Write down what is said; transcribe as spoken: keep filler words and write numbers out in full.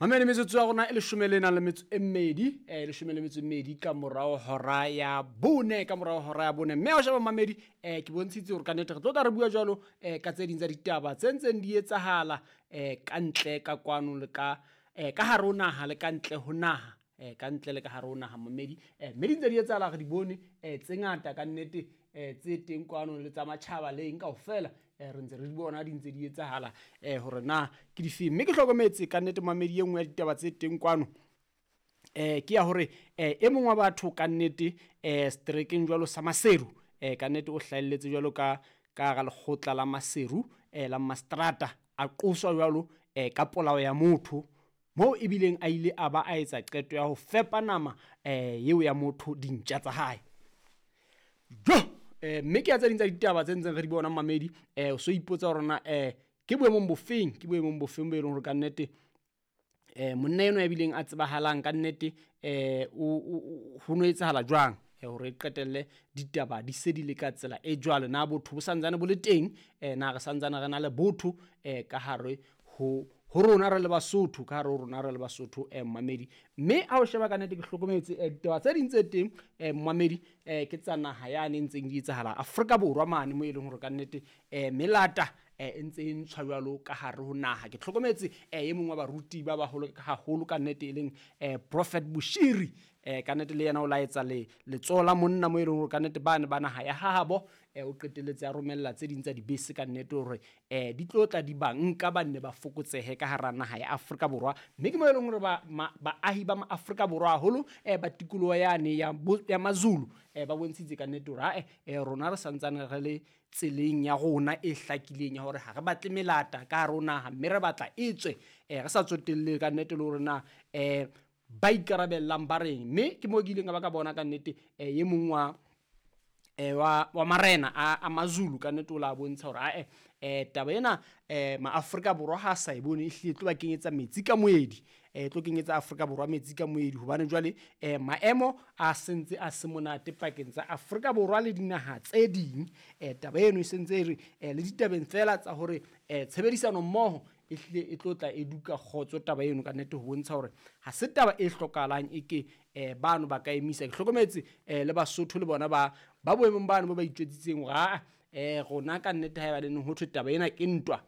Mamele metsotso ya rona e leshome le nang le metso e mmedi, eh leshome le metso e mmedi ka morao hora ya bone, ka morao hora ya bone. Mme ha o sheba mamedi, eh ke bontshitse hore ka nnete re tlo tla re bua jwalo eh ka tse ding tsa ditaba tse ntseng di etsahala eh ka ntle ka kwano le ka eh ka hare ho naha le ka ntle ho naha, eh ka ntle le ka hare ho naha mamedi. Eh mme di ntse di etsahala re di bone eh tse ngata ka nnete eh tse teng kwano le tsa matjhaba le eng kaofela. Eh re ntse re di bona di ntse di etsahala eh hore na ke difeng. Mme ke hlokometse ka nnete mamedi e nngwe ya ditaba tse teng kwano eh ke ya hore eh e mong wa batho ka nnete eh strekeng jwalo sa Maseru eh ka nnete o hlahelletse jwalo ka ka hara lekgotla la Maseru eh la Mastrata, a qoswa jwalo eh ka polao ya motho moo ebileng a ile a ba a etsa qeto ya ho fepa nama eh eo ya motho dintja tsa hae. Jo eh mme ke ya tse ding tsa ditaba tse ntseng re di bona mamedi, eh o so ipotsa hore na eh ke boemong bofeng, ke boemong bofeng bo e leng hore ka nnete eh monna enwa ya bileng a tsebahalang ka nnete eh o ho no etsahala jwang eh hore e qetelle ditaba di se di le ka tsela e jwalo. Na botho bo santsane bo le teng, eh na re santsane re na le botho eh ka hare ho ho rona re le Basotho, ka hare ho rona re le Basotho eh mamedi. Mme ha o sheba ka nnete ke hlokometse eh ditaba tse ding tse teng eh mamedi eh ke tsa naha yane e ntseng di etsahala Afrika Borwa mane mo e leng hore ka nnete eh melata eh e ntse e ntshwa jwalo ka hare ho naha. Ke hlokometse eh e mong wa baruti ba baholo haholo ka nnete e leng eh Prophet Bushiri eh ka nnete le yena o laetsa le letsoho la monna mo e leng hore ka nnete bane ba naha ya hahabo eh o qetelletse a romella tse ding tsa dibese ka nnete hore eh di tlo tla di ba nka ba nne ba fokotsehe ka hara naha ya Afrika Borwa. Mme ke mo e leng hore ba baahi ba Afrika Borwa haholo eh ba tikoloho yane ya ya Mazulu eh ba bontshitse ka nnete hore ha eh rona re santsane re le tseleng ya rona e hlakileng ya hore ha re batle melata ka hare ho naha, mme re batla e tswe eh re sa tsotelle ka nnete le hore na eh ba ikarabellang ba reng. Mme ke mo ke ileng ka ba ka bona ka nnete eh e mong wa eh wa wa marena a a Mazulu ka nnete o la bontsha hore ae eh taba ena eh maAfrika Borwa ha sa e bone e hlile tlo ba kenyetsa metsi ka moedi, eh tlo kenyetsa Afrika Borwa metsi ka moedi, hobane jwale eh maemo a sentse a se monate pakeng tsa Afrika Borwa le dinaha tse ding. Eh taba eno e sentse e re eh le ditabeng fela tsa hore eh tshebedisano mmoho e hlile e tlo tla e duka kgotso taba eno ka nnete, ho bontsha hore ha se taba e hlokahalang e ke eh bano ba ka emisa. Ke hlokometse eh le Basotho le bona ba ba boemong bano ba ba itjwetsitseng hore a eh rona ka nnete ha eba le neng ho thwe taba ena ke ntwa